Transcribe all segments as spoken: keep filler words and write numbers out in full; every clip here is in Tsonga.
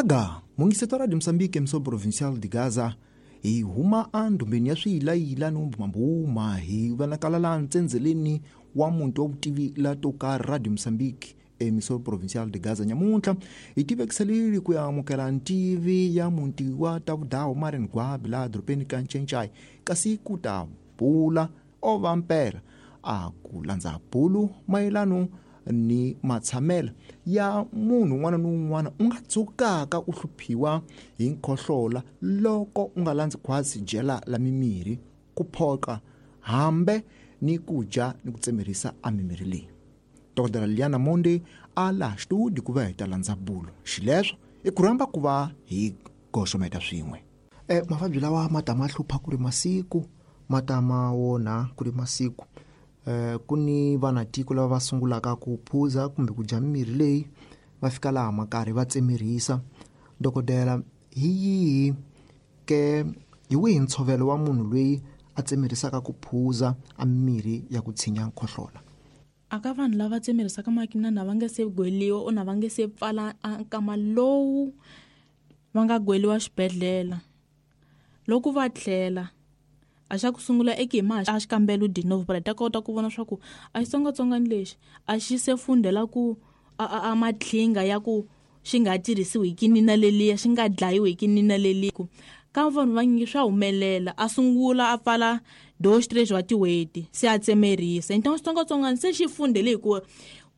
Gaga mungiseto Radio Mozambique emissão provincial de Gaza hi huma andumbeni ya swiyilayila no mbumbuma hi vonakala laha ntsendzeleni wa muti wa vutivi la to karhi Radio Mozambique emissão provincial de Gaza nyamuntlha hi tivekiselile ku ya amukela ntivi ya muti wa Tavudawu Marian Gwabi laha dorobeni ka Ncencai kasi ku ta bula o va mpela a ku landza bulu mayelano ni matshamelo ya munhu un'wana ni un'wana u nga tsukaka u hluphiwa hi nkhohlola loko u nga landzi khwatsi jela la mimirhi ku phoqa hambe ni ku dya ni ku tsemerisa a mimirhi leyi. Dokodela Liana Monde a laha studio ku va hi ta landza bulo xileswo i ku rhamba ku va hi goxometa swin'we. Eh mavabyi lawa ma ta ma hlupha ku ri masiku ma ta ma wona ku ri masiku. Eh ku ni vanatiko lava va sungulaka ku phuza kumbe ku dya mimirhi leyi va fika laha makarhi va tsemerisa. Dokodela, hi yihi ke hi wihi ntshovelo wa munhu loyi a tsemerisaka ku phuza a mimirhi ya ku tshinya nkhohlola? Aka vanhu lava tsemerisaka makinana va nge se gweliwa o na va nge se pfala nkama lowu va nga gweliwa xibedhlele loko va tlhela a xa ku sungula eka hi ma a xikambelo de novo para ta kota ku vona swa ku a xitsongwatsongwana lexi a xi se fundela ku a a matlhinga ya ku xi nga tirhisiwi hi kinina leliya xi nga dlayiwi hi kinina leliya ka vanhu vanyingi swa humelela a sungula a pfala dois três wa tin'hweti se a tsemerisa. Então xitsongwatsongwana se xi fundele hi ku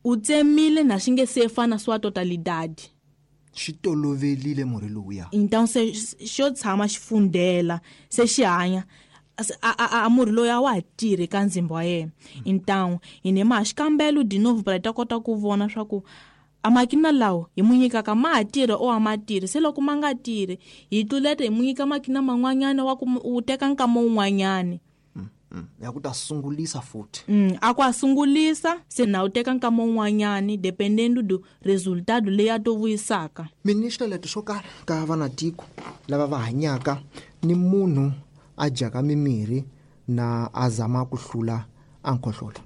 u tsemile na xi nge se fana swa totalidade xi tolovelile murhi lowuya. Então se xo tshama xi fundela se xi hanya a a a murhi loyi a wa ha tirhi ka ndzimba wa yena. Então hi ne ma xikambelo de novo para ta kota ku vona swa ku a makina lawo hi mu nyikaka ma ha tirhi o a ma tirhi se loko ma nga tirhi hi tluleta hi mu nyika makina man'wanyana wa ku u teka nkama wun'wanyani ya ku ta sungulisa futhi. Mm, a ku a sungulisa se na u teka nkama wun'wanyani dependendo do resultado leyi a to vuyisaka. Ministra leto swo karhi ka vanatiko lava va hanyaka ni munhu a dyaka mimirhi na a zama ku hlula a nkhohlola.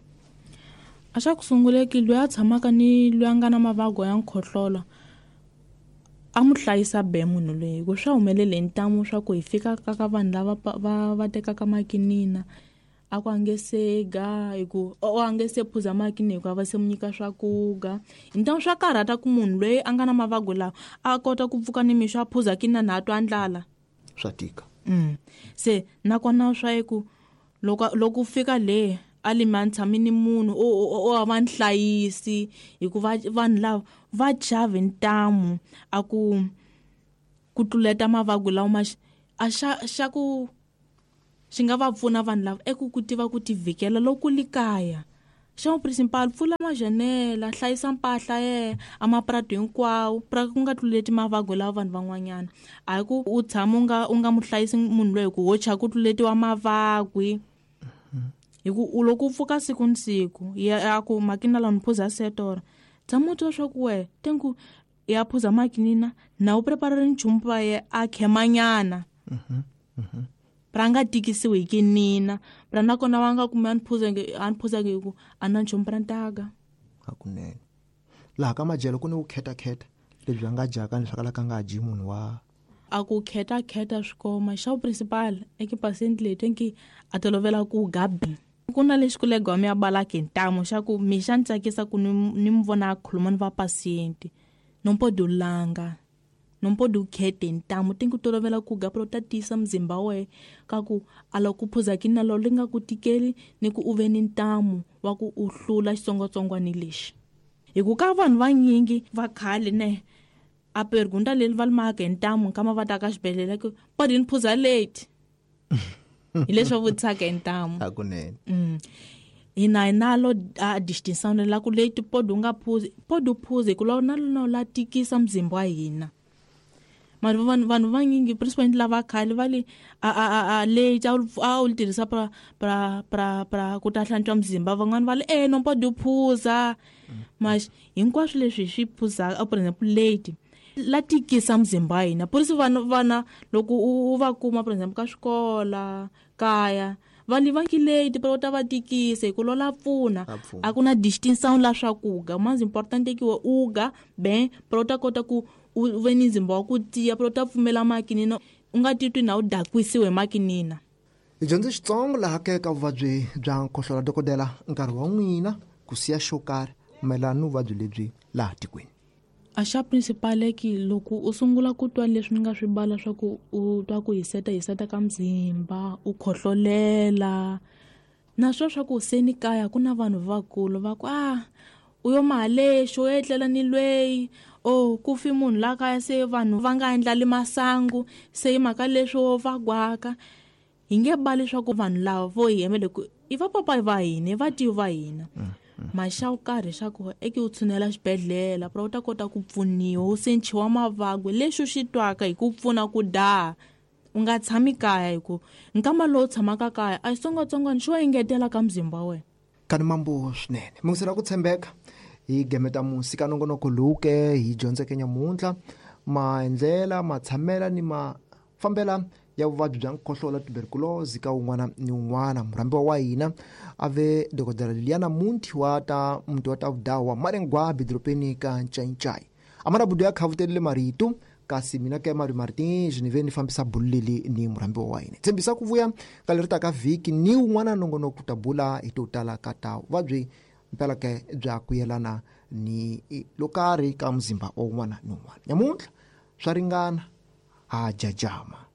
A xa ku sunguleki loyi a tshamaka ni loyi a nga na mavabyi ya nkhohlola a mu hlayisa be munhu loyi ku swa humelele hi ntamu swa ku hi fika ka ka vanhu lava va va tekaka makinina a ku a nge se ga hi ku o a nge se phuza makinina hikuva va se mu nyika swakuga. Hi ntamu swa karhata ku munhu loyi a nga na mavabyi lawa a kota ku pfuka nimixo a phuza kinina na a twa ndlala swa tika. Mm. Se nakona swa ku loko loko fika le a lima tshami ni munhu o o a va nhlayisi hikuva vanhu lava va chave ntamu a ku ku tluleta mavabyi lawa ma a xa xa ku xi nga va pfuna vanhu lava eku ku tiva ku tivhikela loko li kaya. Xa principal pfula majanela hlayisa mpahla ye a maprato hinkwawo pra ku nga tluleti mavabyi lawa vanhu van'wanyana a hi ku u tshama u nga u nga mu hlayisi munhu loyi ku ho cha ku tluletiwa mavabyi hi ku u loko u pfuka siku ni siku ya ku makina lawa ni phuza setora tshama u twa swa ku we tenku ya phuza makinina na u preparare nchumu pa ye a khemanyana pra nga tikisiwi hi kinina pra nakona va nga kumi a ni phuza a ni phuza hi ku a na nchumu pra ntaga. Hakunene laha ka madyelo ku ni ku khetakheta lebyi a nga dyaka ni swa kalaka nga dyi munhu wa a ku khetakheta swikoma xa principal eka patient leyi tenki a tolovela ku gabi ku na lexi kulegwa mi ya balaka hi ntamu xa ku mi xa ni tsakisa ku ni ni mi vona a khuluma ni va paciente no pode langa no pode khete ntamu tenki tolovela ku ga pro ta tiyisa mzimba we ka ku a loko ku phuza kinina lo li nga ku tikeli ni ku u ve ni ntamu wa ku u hlula xitsongwatsongwana lexi hi ku ka vanhu vanyingi va khale ne a pergunta leli va limaka hi ntamu nkama va ta ka xibedhlele ku pode ni phuza late hi leswi va vutisaka hi ntamu. Hakunene. Mm. Hina hi nalo a distinção la ku late pode u nga phuzi pode u phuza hi ku la na lona la tikisa mzimba wa hina. Mara vanhu vanhu vanyingi principalmente lava khale va le a a a late a wu tirhisa pra pra pra pra ku ta hlantswa mzimba van'wana va le eh no pode u phuza mas hinkwaswo leswi hi swi phuzaka por exemple late la tikisa mzimba wa hina por isso vanhu vana loko u va kuma por exemple ka swikola kaya Va livakileti pero ta va tikisa hi ku lola pfuna. Va pfuna. A ku na distinction la swa ku ga mas importante ki we uga ben pero ta kota ku u ve ni nzimba wa ku tiya pero ta pfumela makinina u nga titwi na u dakwisiwe makinina. Hi dyondze xitsongo laha ke ka vuvabyi bya nkhohlola. Dokodela, nkarhi wa n'wina ku siya xo karhi mayelana ni vuvabyi lebyi laha tikweni. A xa principal ki loko u sungula ku twa leswi ni nga swi bala swa ku u twa ku hiseta hiseta ka mzimba, u khohlolela na swo swa ku se ni kaya ku na vanhu vakulu va ku ah u yo mahalexo u etlela ni lweyi o ku fi munhu la kaya se vanhu va nga endlali masangu se hi mhaka leswo va gwaka. Hi nge bali swa ku vanhu lava vo hi hemele ku i va papayi va hina i vativi va hina maxa wu karhi xa ku eke u tshunela xibedhlele pero u ta kota ku pfuniwa u sechiwa mavabyi lexi u xi twaka hi ku pfuna ku daha u nga tshami kaya hi ku nkama lowu tshamaka kaya a xitsongwatsongwana xo engetela ka mzimba wa wena. Kani mambo swinene mungisela ku tshembeka hi gemeta musi ka nongonoko lowu ke hi dyondzeke nyamuntlha maendlela matshamela ni mafambela ya vuvabyi bya nkhohlola tuberculosis ka un'wana ni un'wana. Murhambiwa wa hina a ve dokodela Liliana Munti wa ta muti wa ta vudawa Marengwabi doropeni ka Ncaincai. Amara budu ya khavutelile marito kasi mina ke Mari Martin ni ve ni fambisa bulu leli ni murhambiwa wa hina. Tshembisa ku vuya ka leri taka vhiki ni un'wana nongonoko ta bula hi to tala ka ta vuvabyi mpela ke bya ku yelana ni lo karhi ka muzimba wa un'wana ni un'wana. Nyamuntlha swa ringana ha jajama.